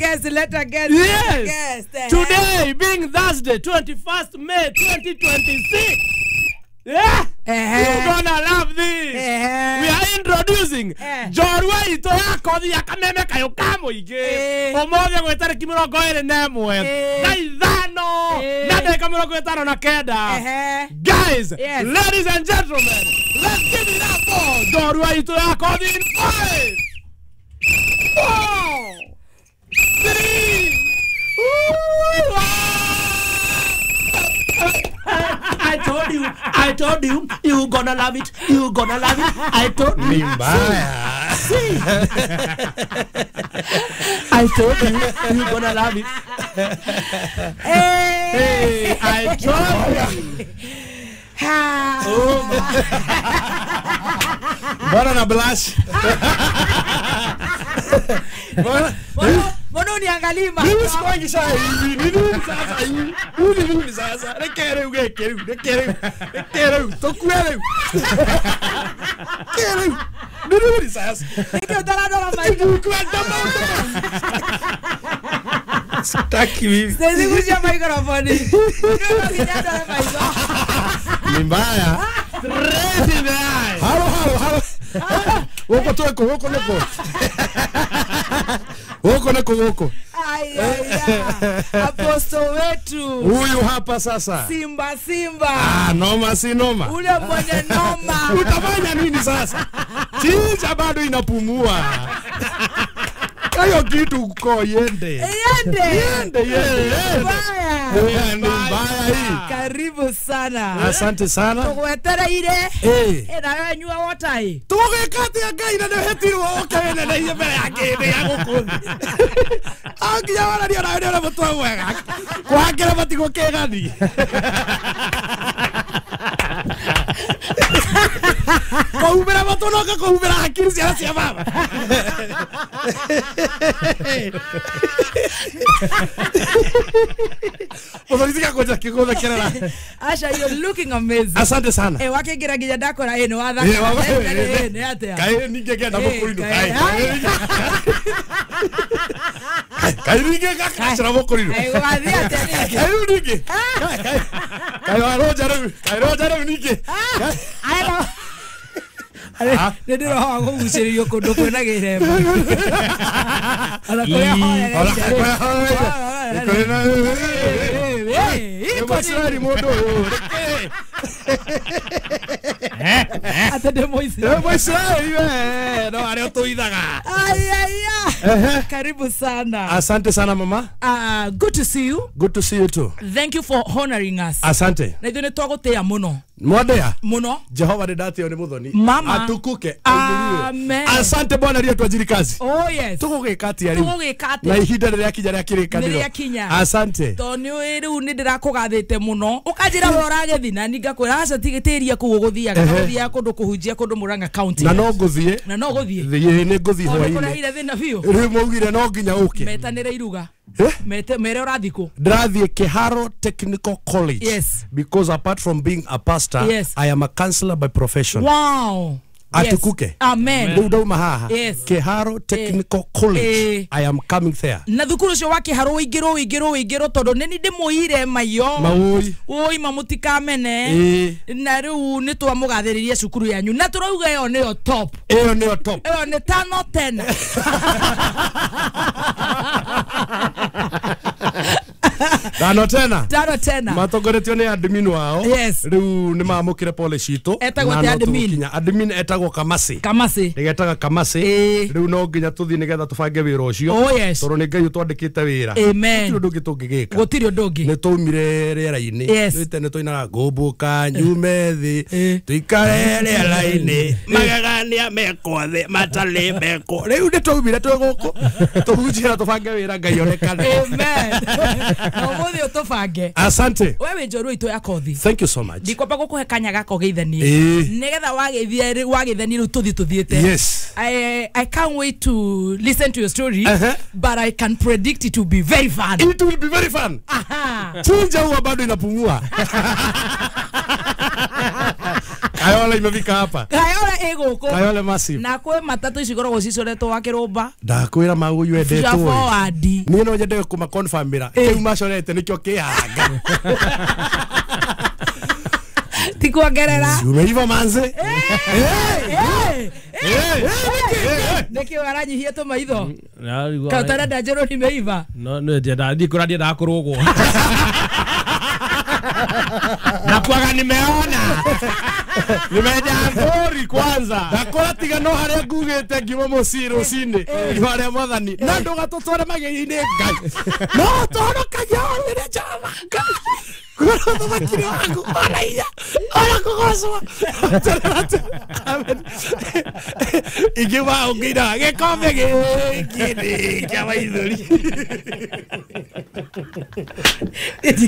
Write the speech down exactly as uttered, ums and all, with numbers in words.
guest, let a guest. Yes. Guest. Today being Thursday, twenty-first May twenty twenty-six. Yeah. Uh-huh. You're gonna love this. Uh-huh. We are introducing Njorua itũ ya kothi ya kameme kayo ka mũingĩ. Ũmũthĩ gwĩ tarĩki mĩrongo ĩrĩ na ĩmwe na ithano na ndagĩka mĩrongo ĩtano na kenda. Guys, yes. Ladies and gentlemen, let's give it up for Njorua itũ ya kothi in five, four, three, one. I told you, I told you, you gonna love it, you gonna love it. I told you. See, see. I told you, you gonna love it. Hey, hey, I told you. Oh my. Mbona na blush? Mbona? Mbona uniangalie mama? Mimi sikwangi sasa hivi. Mimi sasa hivi. Mimi mimi sasa. Rekere ugekere, rekere. Rekere, tokuere. Kere. Mimi sasa. Niki utarado maiko. Sitaki mimi. Sisi kuja microphone. Ndio kijana maiko. Ni mbaya. Straight in the eye. Halo halo halo. Woko toko woko niko. Woko niko woko. Ai ai ai. Apostle wetu. Huyu hapa sasa. Simba simba. Ah, noma si noma. Ule mwenye noma. Utafanya nini sasa? Chinja bado inapumua. Kayo kitu uko yende. Yende. Yende yende. Mbaya. Ni mbaya hii. Karibu sana. Asante sana. Tugwetere ire. Eh. Eh na wewe nyua water hii. Tugweka atia Ngai na nĩũhetirwo ũke wĩneneire mbere ya kĩndĩ gĩa gũkũ thĩ. Anginya wararia nawe nĩ ũrĩa mũtwe mwega. Kũhangĩra matigũ kĩgani. Kũhumbĩra matũ no kũhumbĩra hakiri ciana cia baba. Mũthoni kũnja kĩgũthekerera. Asha, you're looking amazing. Asante sana. Eh wakĩingĩra nginya ndakora ĩ nĩ wathaka. Nĩ atĩa? Kaĩ ningĩ ngenda mũkũrinũ. Kaĩ ningĩ ngakacĩra mũkũrinũ. Kaĩ wathiĩ atĩa ningĩ? Kaĩ rĩu ningĩ. Kaĩ waronja rĩu. Kaĩ ronja rĩu ningĩ. Nĩ ndĩrohoa kũgucĩrĩrio kũndũ kwĩna gĩthemba. Ona kũrĩa horereire. Mũisiraeli mũndũ ũyũ. Ate ndĩ Mũisiraeli. Mũisiraeli we, no arĩa ũtũithaga. Ai ai ai. Karibu sana. Asante sana mama. Uh, good to see you. Good to see you too. Thank you for honoring us. Asante. Na ithuĩ nĩ twagũtĩĩa mũno. Mwandea muno. Jehova nĩ ndatĩo nĩ mũthoni. Mama. Atukuke. Amen. Asante Bwana rĩo twajiri kazi. Oh yes. Tũgũgĩka atĩa rĩu? Tũgũgĩka atĩa? Na ihinda rĩrĩa kinya rĩa kĩrĩkanĩro. Nĩ rĩakinya. Asante. Tondũ nĩ rĩu nĩ ndĩrakũgathĩte mũno. Ũkanjĩra we ũragĩthi na niĩ ngakwĩra aca tigĩtĩria kũu ũgũthiaga. Ũgũthiaga kũndũ kũhunjia kũndũ Murang'a County. Na no ngũthiĩ. Na no ngũthiĩ. Thiĩ nĩ ngũthiĩ hwaĩ-inĩ. Ũkũrehire thĩna biũ. Rĩu maugire no nginya ũke. Metanĩre iruga. Mete mere ũrathiĩ kũ? Ndĩrathiĩ Kiharo Technical College. Yes. Because apart from being a pastor, yes, I am a counselor by profession. Wow. Atukuke. Yes. Amen. Rĩu ndauma haha. Yes. Kiharo Technical College. Eh. I am coming there. Na thukuru ũcio wa Kiharo ũingĩrwo ũingĩrwo ũingĩrwo tondũ nĩ niĩ ndĩmũire maiyo. Maũi. Ũi mamũtikamene. Eh. Na rĩu nĩ twamũgathĩrĩria cukuru yanyu. Na tũrauga ĩyo nĩyo top. Ĩyo nĩyo top. Ĩyo nĩ tano tena. Tano tena. Tano tena. Matongoretio nĩ admin wao. Yes. Rĩu nĩ mamũkĩre pole citũ. Etagwo atĩa admin? Admin etagwo Kamasi. Kamasi. Nĩgetaga Kamasi. Rĩu no nginya tũthiĩ nĩgetha tũbange wĩra ũcio. Oh yes. Tondũ nĩ Ngai ũtwandĩkĩte wĩra. Amen. Gũtirĩ ũndũ ũngĩ tũngĩgĩka. Gũtirĩ ũndũ ũngĩ. Nĩ twaumire rĩera-inĩ. Yes. Nĩ tũinaga ngũmbũka nyume thĩ tũikare rĩera-inĩ magegania mekwo thĩ matarĩ mekwo. Rĩu nĩ twaumire twĩ gũkũ tũhunjie na tũbange wĩra Ngai onekane. Amen. Na ũmũthĩ ũtũbange. Asante. We wĩ njorua itũ ya kothi. Thank you so much. Ndikwamba gũkũhe kanya gaka ũgeithanie. Nĩgetha wageithia wageithania rĩu tũthiĩ tũthiĩte. Yes. I I can't wait to listen to your story. Uh-huh. But I can predict it will be very fun. It will be very fun. Aha. Chinja huwa bado inapumua. Kayole imefika hapa. Kayole ĩgũkũ. Kayole massive. Na kwĩ matatũ ici ikoragwo cicoretwo wa kĩrũmba. Ndakwĩra maguyu endetwo. Forward. Niĩ no nyende kũma confirmĩra. Kĩu macorete nĩkĩo kĩhanga. Ti kuongerera. Umeiva manze. Nĩkĩo aranyihia tũmaitho. Kana ũtarenda njĩrwo nimeiva. No no ndienda ndikũra ndiendaga kũrũgwo. Nakuaga nimeona. Nimejaa ngori kwanza. Ndakora tiga no haria ngugite ngiuma mucii rucini. Ngiuma haria mwathani. Na ndugatũtware magerio-inĩ Ngai. No tũhonokagia orĩrĩ Jehova Ngai. Kũrĩa ũthamaki waku ona hinya ona kũgocwo. Ingiuma ũngĩina gĩkombe gĩkĩ nĩ kĩa maithori.